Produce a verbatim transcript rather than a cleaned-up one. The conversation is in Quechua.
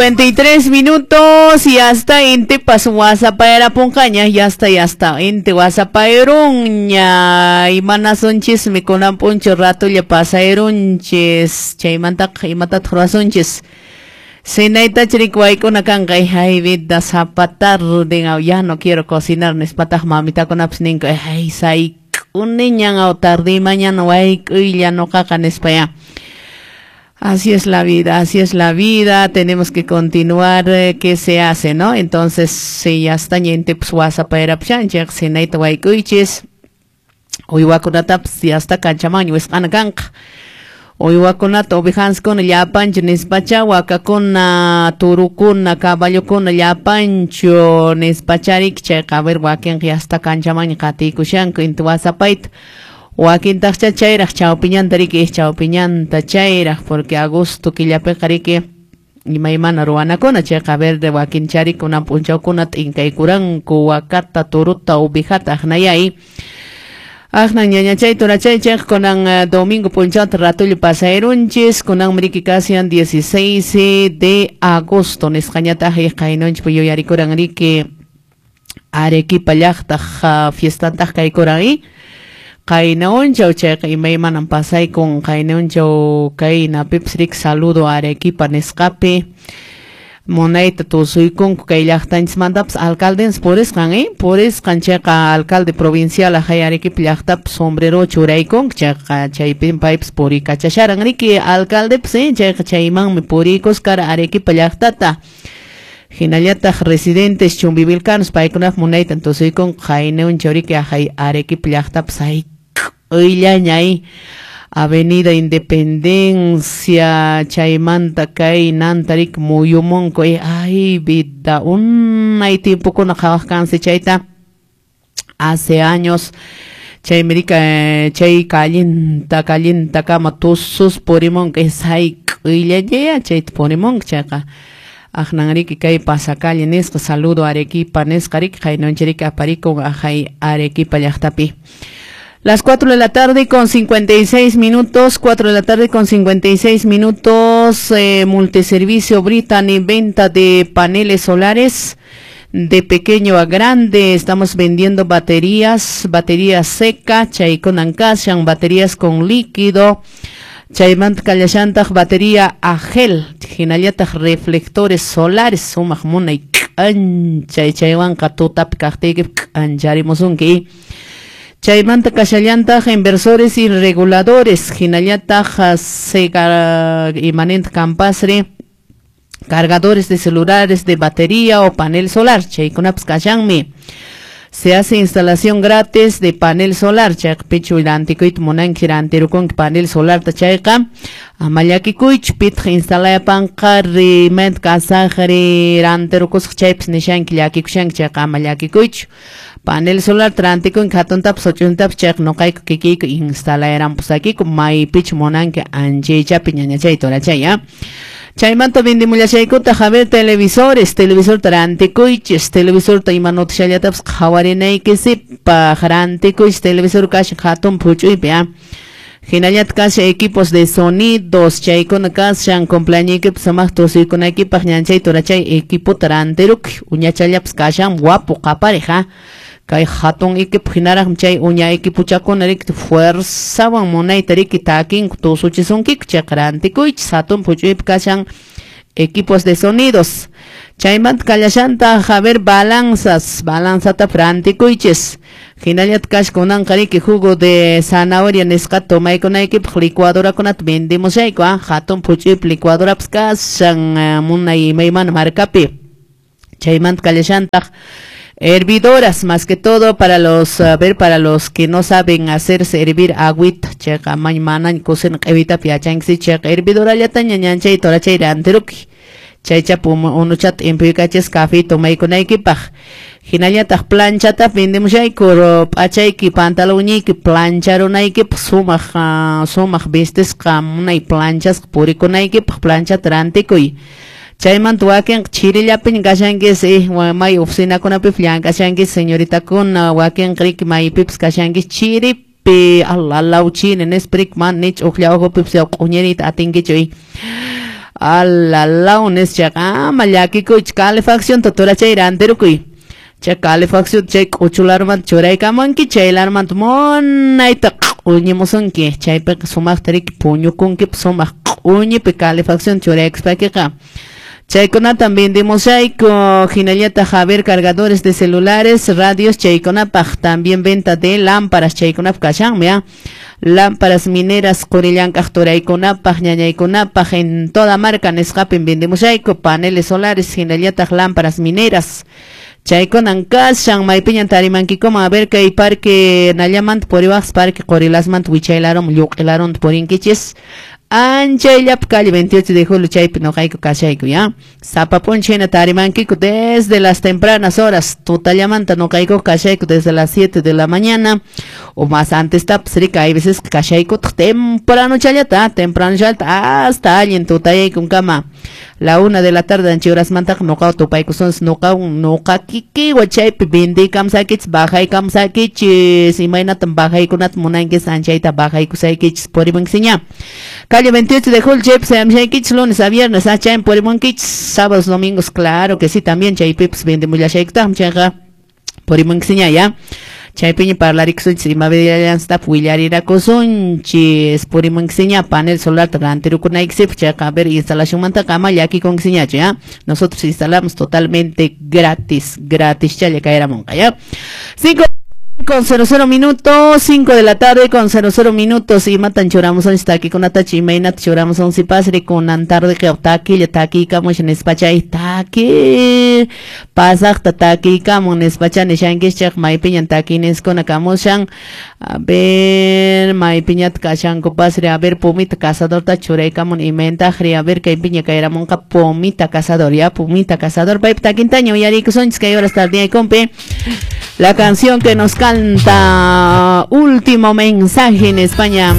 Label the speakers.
Speaker 1: cincuenta y tres minutos y hasta intipas wasapaerapunqaña, ya está, ya está inti wasapaerunña. Imanasunchis kunan p'unchaw? Ratulla pasayrunchis. Chaymantaqa, imatataq ruwasunchis? Cenaytach riki wayk'una kanqa. Ay, vida, sapa tarde "ya no quiero cocinar" nispataq mamitakunapas ninku. "Ay, sayk'uniñan aw, tarde mañana wayk'uylla nuqaqa" nispa ya. Así es la vida, así es la vida, tenemos que continuar, eh, ¿qué se hace, no? Entonces, si ya está ñente, pues wasapaerapushanchik, cenayta wayk'uychis, uywakunatapas ya está kanchaman wisq'ana kanqa. Uywakunata, ovejanskuna llapanchu nispacha, wakakuna, turukuna, caballokuna llapanchu nispachariki chayqa, a ver, wakinqa ya está kanchaman qatiykushanku inti wasapayta. Wakintaqcha chayraq chawpiñanta riki, chawpiñanta chayraq, porque agosto killapiqa riki imaymana ruwanakuna chayqa, a ver, de wakinchari kunan p'unchawkuna t'inkaykuranku wakata, turuta, ovejata aqnayay. Aqnan ñañachay turachay chayqa kunan uh, domingo p'unchawta ratullo pasayrunchis. Kunanmi riki kashan dieciséis de agosto nisqañataq, qaynunchik yuyarikuran riki Arequipa llaqtaq uh, fiestantaq kaykuran y qayna unchaw. Chayqa imaymanan pasaykun qayna unchaw. Kaynapipas riki saludo Arequipa nisqapi munayta tusuykunku kay llaqtanchismantapas. Alcaldense purisqan, eh purisqan chayqa alcalde provincial ajay Arequipa llaqtapi sombrero churaykunku. Chayqa chaypin paypas purikachasharan riki alcaldepas, eh chayqa chaymanmi puriykuskara Arequipa llaqtata. Hinallataq residentes chumbivilcanos paykunap munaytan tusuykunku qayna unchaw riki ajay Arequipa llaqtapas hayk'uyllaña Avenida Independencia chaymanta kay nantarik muyumunku. Ay, vida, unay tiempokuna qhawaq kansi chayta hace años. Chaymi rika chay callinta callintakama tusus purimunku, sayk'uyllaña chayta purimunku. Chayqa aqnanriki kay pasacalle nisqa saludo Arequipa nisqa riki qaynunchiriki aparikun ajay Arequipa llaqtapi. Las cuatro de la tarde con cincuenta y seis minutos, cuatro de la tarde con cincuenta y seis minutos, eh, multiservicio Brittany, venta de paneles solares de pequeño a grande. Estamos vendiendo baterías, baterías seca, chaykunan kashan, baterías con líquido, chaymanta kallashantaq batería a gel, hinallataq reflectores solares, sumaq munay k'anchay, chaywanqa tutapi kaqtiyki k'ancharimusunki. Chaymanta kashallantaq inversores y reguladores, hinallataq sega imanent campasre, cargadores de celulares de batería o panel solar, chaykunapas kashanmi. Se hace instalación gratis de panel solar, chayqa pichu rantikuyta munanki, rantirukunki panel solarta chayqa, ama llakikuychu, pitaq instalayapanqa rimanta kasaqri rantirukusaq chaypas nishanki, llakikushanki chayqa ama llakikuychu. Panel solar rantikunki hatuntapas huch'uytapas chayqa nuqayku kikiyku instalayaranpusakiku maypichu munanki anchaychapi, ñañachay turachay, ¿ya? Chaymanta vendimullashaykutaq, a ver, televisores, televisorta rantikuychis, televisorta ima noticiallatapas qhawarinaykisipaq rantikuychis, televisor kashan hatun huch'uypi, ¿ah? Hinallataq kashan equipos de sonidos, chaykuna kashan cumpleañoykipas sumaq tusuykunaykipaq ñanchay turachay equipota rantirukuy, uñachallapas kashan guapo qapariq, ¿ah? Kay hatun equipo hinaraqmi chay uña equipochakuna riki fuerzawan munayta riki takinku tusuchisunkiku. Chayqa rantikuychis, hatun huch'uypi kashan equipos de sonidos. Chaymanta kallashantaq, a ver, balanzas, balanzata rantikuychis. Hinallataq kashan kunanqa riki jugo de zanahoria nisqata tomaykunaykipaq licuadorakunata vendemushayku, ah, hatun huch'uypi licuadorapas kashan munay imaymana marcapi. Chaymanta kallashantaq hervidoras, más que todo para los, a ver, para los que no saben hacerse hervir agüita, chayqa manañ cocina q'ewitapi yachanki chayqa hervidorallataña ñanchay turachay rantirukuy. Chaychapi unuchata impuyukachis café tomaykunaykipaq. Hinallataq planchata vendemushayku p'achayki pantalonñiyki plancharunaykipaq sumaq sumaq vistisqa munay planchasqa purikunaykipaq planchata rantikuy. Chaymanta wakinqa chirillapiña kashankis, eh, may oficinakunapipas llank'ashankis señoritakuna, wakinqa riki maypipas kashankis chiripi, alalaw chini nispa riki mana ni ch'uklla ukhupipas q'uñiriyta atinkichu. Alalaw nischaqa ama llakikuychu calefacción turachay rantirukuy. Chay calefacción chay k'uchularmanta churaykamunki chay larmanta munayta q'uñimusunki chaypiqa sumaqta riki puñukunkipas sumaq q'uñipi calefacción churaykuspakiqa. Chaykunatam vendemushayku hinallataq a ver cargadores de celulares, radios chaykunapaq también venta de lámparas chaykunapaq kashanmi ¿ah? Lámparas mineras qurillank'aq turaykunapaq ñañaykunapaq en toda marca nisqapin vendemushayku paneles solares hinallataq lámparas mineras. Chaykunan kashan maypiñan tarimankikuman a ver kay parque nallamanta puriwaqs parque qurilasmanta wichaylarum lluq'ilarunta purinkichis. Anchayllapa calle veintiocho de julio chaypi noqayku kashayku ya. Sapa p'unchay hina tarimankiku desde las tempranas horas tutallamanta noqayku kashayku desde las siete de la mañana o más antes tapas rika hay veces kashaykutaq temprano challata temprano challata hasta allin tutayaykunkama la una de la tarde ancha horasmantaqa noqawan tupaykusunchis noqawan noqa kikiwan chaypi vendiykamsaykichis bajaykamsaykichis imaynatam bajaykunata munankis anchayta bajaykusaykichis purimunkiña. Calle veintiocho de julio chaypi sayamshaykichis lunes a viernes ah chaymi purimunkichis sábados domingos claro que sí también chaypipas vendimullashaykutaqmi chayqa purimunkiña ya. Chaypiña parlarikusunchis ima vidallanstap willarirakusunchis purimunkiña panel solar rantirukunaykisipaq chayqa a ver instalacionmantaqa ama llakikunkiñachu ya. Nosotros instalamos totalmente gratis, gratis challa kayramunqa ya. Cinco con cero cero minutos, cinco de la tarde con cero cero minutos y matan churamos on takikunata imaynata churamos on sipasri kunan tarde que takilla takikamush nispachay taki pasaqta takikamun nispacha nishankischaq maypiñan takiniskuna kamushan a ver maypiñata kashanku pasri a ver pumita cazadorta churaykamun imayntaqri a ver kaypiña kayramunqa pumita cazador ya pumita cazador paypa takintaña uyarikusunchis kay horas tardiyaykunpi. La canción que nos canta Último Mensaje en España.